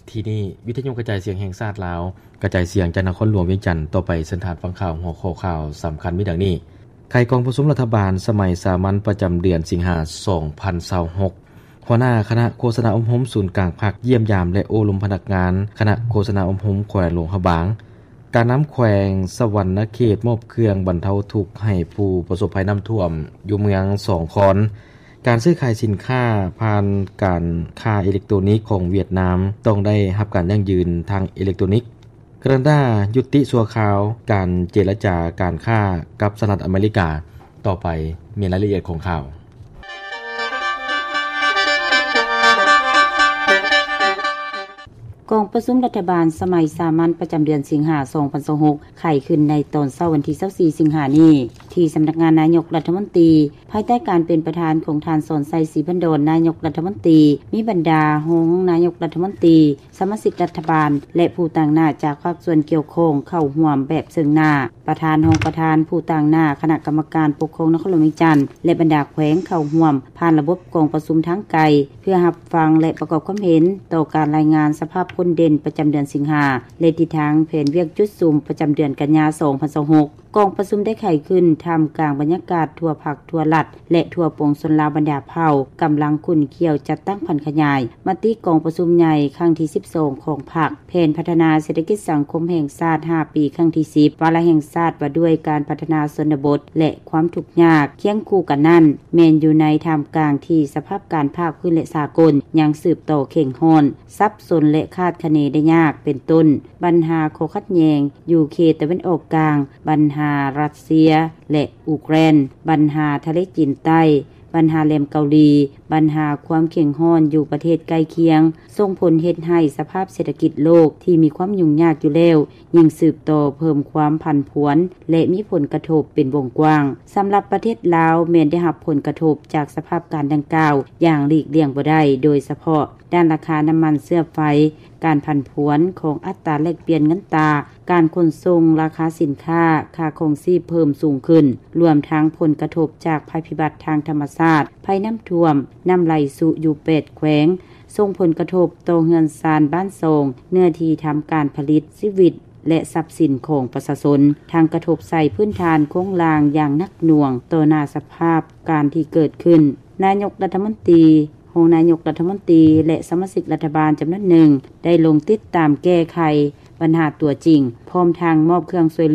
ທີ່ນີ້ ວິທະຍຸກະຈາຍສຽງແຫ່ງຊາດລາວ ກະຈາຍສຽງຈາກນະຄອນຫຼວງວຽງຈັນ. ຕໍ່ໄປເຊີນທ່ານຟັງຂ່າວ. ຫົວຂໍ້ຂ່າວສຳຄັນມີດັ່ງນີ້: ໄຂກອງປະຊຸມລັດຖະບານສະໄໝສາມັນປະຈຳເດືອນສິງຫາ ສອງພັນຊາວຫົກ. ຫົວໜ້າຄະນະໂຄສະນາອົບຮົມສູນກາງພັກ ຢ້ຽມຢາມ ແລະ ໂອ້ລົມພະນັກງານຄະນະໂຄສະນາອົບຮົມແຂວງຫຼວງພະບາງ. ການນຳແຂວງສະຫວັນນະເຂດມອບເຄື່ອງບັນເທົາທຸກໃຫ້ຜູ້ປະສົບໄພນ້ຳຖ້ວມຢູ່ເມືອງສອງຄອນ. ການຊື້ຂາຍສິນຄ້າຜ່ານການຄ້າເອເລັກໂຕນິກຂອງຫວຽດນາມຕ້ອງໄດ້ຮັບການຢັ້ງຢືນທາງເອເລັກໂຕນິກ. ການາດາຢຸດຕິຊົ່ວຄາວການເຈລະຈາການຄ້າກັບສະຫະລັດອາເມລິກາ. ຕໍ່ໄປແມ່ນລາຍລະອຽດຂອງຂ່າວ. ກອງປະຊຸມລັດຖະບານສະໄໝສາມັນປະຈຳເດືອນສິງຫາ ສອງພັນຊາວຫົກ ໄຂຂຶ້ນໃນຕອນເຊົ້າວັນທີຊາວສີ່ ສິງຫານີ້ ທີ່ສຳນັກງານນາຍົກລັດຖະມົນຕີ ພາຍໃຕ້ການເປັນປະທານຂອງທ່ານ ສອນໄຊ ສີພັນດອນ ນາຍົກລັດຖະມົນຕີ, ມີບັນດາຮອງນາຍົກລັດຖະມົນຕີ, ສະມາຊິກລັດຖະບານ ແລະ ຜູ້ຕາງໜ້າຈາກພາກສ່ວນກ່ຽວຂ້ອງເຂົ້າຮ່ວມແບບເຊິ່ງໜ້າ. ປະທານ, ຮອງປະທານ, ຜູ້ຕາງໜ້າຄະນະກຳມະການປົກຄອງນະຄອນຫຼວງວຽງຈັນ ແລະ ບັນດາແຂວງເຂົ້າຮ່ວມຜ່ານລະບົບກອງປະຊຸມທາງໄກ ເພື່ອຮັບຟັງ ແລະ ປະກອບຄວາມເຫັນຕໍ່ການລາຍງານສະພາບຜົນເດັ່ນປະຈຳເດືອນສິງຫາ ແລະ ທິດທາງແຜນວຽກຈຸດສຸມປະຈຳເດືອນກັນຍາ ສອງພັນຊາວຫົກ. ກອງປະຊຸມໄດ້ໄຂຂຶ້ນທ່າມກາງບັນຍາກາດທົ່ວພັກ, ທົ່ວລັດ ແລະ ທົ່ວປວງຊົນລາວບັນດາເຜົ່າ ກຳລັງຂຸ້ນຂ້ຽວຈັດຕັ້ງຜັນຂະຫຍາຍມະຕິກອງປະຊຸມໃຫຍ່ຄັ້ງທີສິບສອງຂອງພັກ, ແຜນພັດທະນາເສດຖະກິດສັງຄົມແຫ່ງຊາດຫ້າປີຄັ້ງທີສິບ, ວາລະແຫ່ງຊາດວ່າດ້ວຍການພັດທະນາຊົນນະບົດ ແລະ ຄວາມທຸກຍາກ. ຄຽງຄູ່ກັນນັ້ນ ແມ່ນຢູ່ໃນທ່າມກາງທີ່ສະພາບການພາກພື້ນ ແລະ ສາກົນຍັງສືບຕໍ່ເຄັ່ງຮ້ອນ, ສັບສົນ ແລະ ຄາດຄະເນໄດ້ຍາກ, ເປັນຕົ້ນ ບັນຫາຂໍ້ຂັດແຍ່ງຢູ່ເຂດຕາເວັນອອກກາງ, ບັນຫາຣັດເຊຍ ແລະ ອູເຄຣນ, ບັນຫາທະເລຈີນໃຕ້, ບັນຫາແຫຼມເກົາຫຼີ, ບັນຫາຄວາມເຄັ່ງຮ້ອນຢູ່ປະເທດໃກ້ຄຽງ ສົ່ງຜົນເຮັດໃຫ້ສະພາບເສດຖະກິດໂລກທີ່ມີຄວາມຫຍຸ້ງຍາກຢູ່ແລ້ວ ຍິ່ງສືບຕໍ່ເພີ່ມຄວາມຜັນຜວນ ແລະ ມີຜົນກະທົບເປັນວົງກວ້າງ. ສຳລັບປະເທດລາວ ແມ່ນໄດ້ຮັບຜົນກະທົບຈາກສະພາບການດັ່ງກ່າວຢ່າງຫຼີກລ່ຽງບໍ່ໄດ້, ໂດຍສະເພາະດ້ານລາຄານ້ຳມັນເຊື້ອໄຟ, ການຜັນຜວນຂອງອັດຕາແລກປ່ຽນເງິນຕາ, ການຂົນສົ່ງ, ລາຄາສິນຄ້າ, ຄ່າຄອງຊີບເພີ່ມສູງຂຶ້ນ, ລວມທັງຜົນກະທົບຈາກໄພພິບັດທາງທຳມະຊາດ, ໄພນ້ຳຖ້ວມ, ນ້ຳໄຫຼຊຸຢູ່ແປດແຂວງ, ສົ່ງຜົນກະທົບຕໍ່ເຮືອນຊານບ້ານຊ່ອງ, ເນື້ອທີ່ທຳການຜະລິດ, ຊີວິດ ແລະ ຊັບສິນຂອງປະຊາຊົນ, ທັງກະທົບໃສ່ພື້ນຖານໂຄງລ່າງຢ່າງໜັກໜ່ວງຕໍ່ໜ້າສະພາບການທີ່ເກີດຂຶ້ນ. ນາຍົກລັດຖະມົນຕີ, ຮອງນາຍົກລັດຖະມົນຕີ ແລະ ສະມາຊິກລັດຖະບານຈຳນວນໜຶ່ງ ໄດ້ລົງຕິດຕາມແກ້ໄຂບັນຫາຕົວຈິງ, ພ້ອມທັງມອບເຄື່ອງຊ່ວຍ